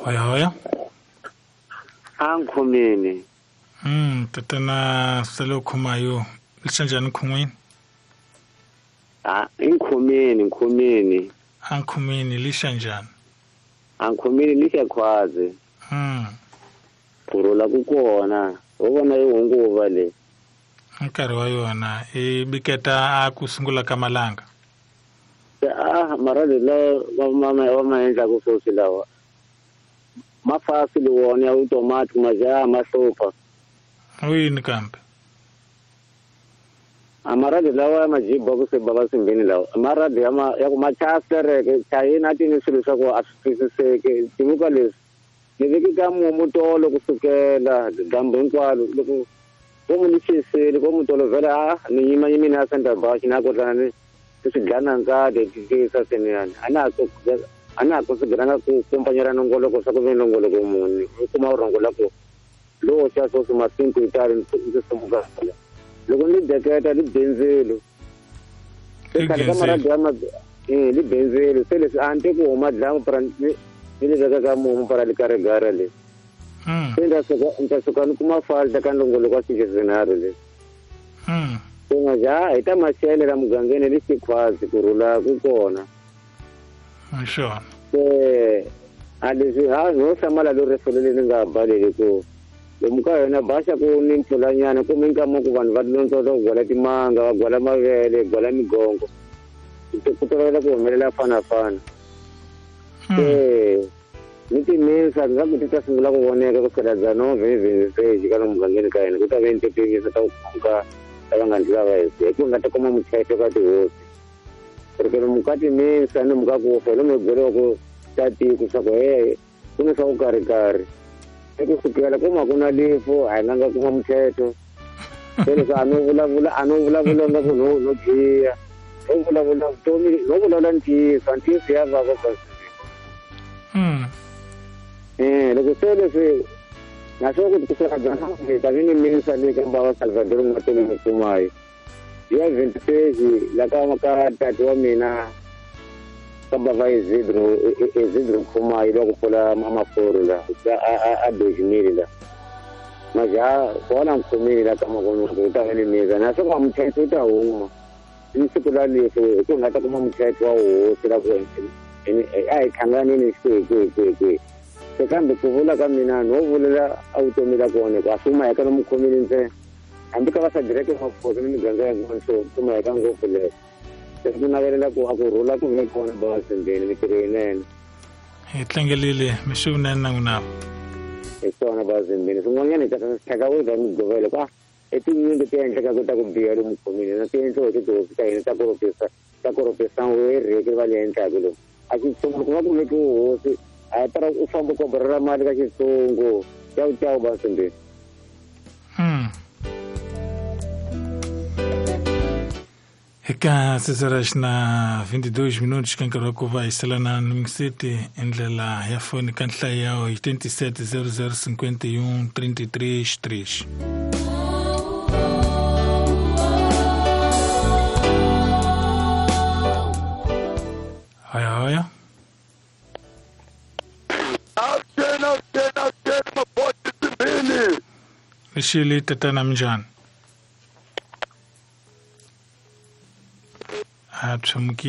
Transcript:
Hoya hoya. Ankhomeni. Tatana salo khumayo. Lisanjani khumweni? Ah, inkhomeni, nkhomeni. Ankhomeni lisanjani? Ankhomeni lisiyakhwazi. Kurula kukona. Ubona ihunguva le. Nkarhi wa yona i biketa a ku sungula ka malanga. Ah, marali la mama wa maendla ku sosi lawa. Mafasi liwona ya automatic maja masofa. Uyini kambe? Amaradi lawa majibu ku se baba simbini lawa. Maradi ama ya ku machastere ke chayina tini swilo swa ku a swi twisiseki timuka leswi. Ni viki ka mutolo kusukela dyambu hinkwaro loko ko mu ni xisile ko mutolo vhele a ni yima yimini a center bus na ku tlana ni swi dlana nkati tisa seniyani a na ha kusigelanga ku kumpanyela nongoloko swa ku ve nongoloko muni u kuma urhongo la ku lowo xa swoswi masinku itali ndzi sumuka loko ni deketa li benzelo se khale ka maradi ya ma li benzelo se leswi a ni te ku huma dlamu para ni li veka ka mumu para li karigara le se ndza suka ni kuma falta ka nongoloko wa xingezinharhu le se nga ja hi ta maxele la mugangeni li xikhwazi ku rhula ku kona. Sure. A leswi ha no hlamala lo rifelele ni nga baleli ku lomu ka yona baxa ku ni mpfulanyana ku minkama ku vanhu va lontsongo ku gwala timanga va gwala mavele gwala migongo ku tolovela ku humelela fanafana. Ni timisa nga ku ti ta sungula ku voneka ku sukela dzano vhevhevheji ka mugangeni ka hina ku ta ve ni titimisa ta ku khumbuka ta va nga ndzi lava hi ku nga ta kuma muthetho ka tihosi. Porque mukati misa ni mukakufa lo migwele wa ku tatiku swa ku he ku ni swa ku karhi-karhi i ku sukela kuma ku na lifu a hi nga kuma muthetho se leswi a no vulavula nga ku no biha no vulavula vutomi no vulavula ntiyiso ntiyiso ya vava kasi. Loko se leswi naswo ku kusela dzana ta vi ni misa le ka bava Salvador Matoni Mkumayo ya 26 la ka ka tati wa mina ka bava Isidro Khumayo lwa ku pfula maforo la a dojimile la maja kona nkhomile la ka makono ku ta va ni misa na swo ka muthetho u ta huma ni siku la leswi hi ku nga ta kuma muthetho wa hosi la ku a hi hlanganini kwihi se kambe ku vula ka mina no vulela a vutomi la kona ku a swi huma eka no mukhomile ntsena hambi ka va sa direke maphoso ni miganga ya kona so kuma eka ngopfu leyo se ku navelela ku a ku rhula ku ve kona bavasembeni mitirho yinene hi tlangelile mixo vunene na n'wina hi swona bavasembeni swin'wanyana hi tlhaka u za migovelo ku a i tinyingi ti endlekaka ta ku biha lomu khomile na ti endliwa hi tihosi ta hina ta koropisa wereke va le endlaka lomu a xitshungu ku nga kumeki hosi a hi para u famba u koborela mali ka xitshungu cawu cawu bavasembeni. Eka 6 na 22 minutos ka nkarhi wa ku va hi salana ni City ndlela ya foni ka nhlayo ya 87 00 51 33 3. Hoya hoya. Lixili tatana minjhani? A tshumuki.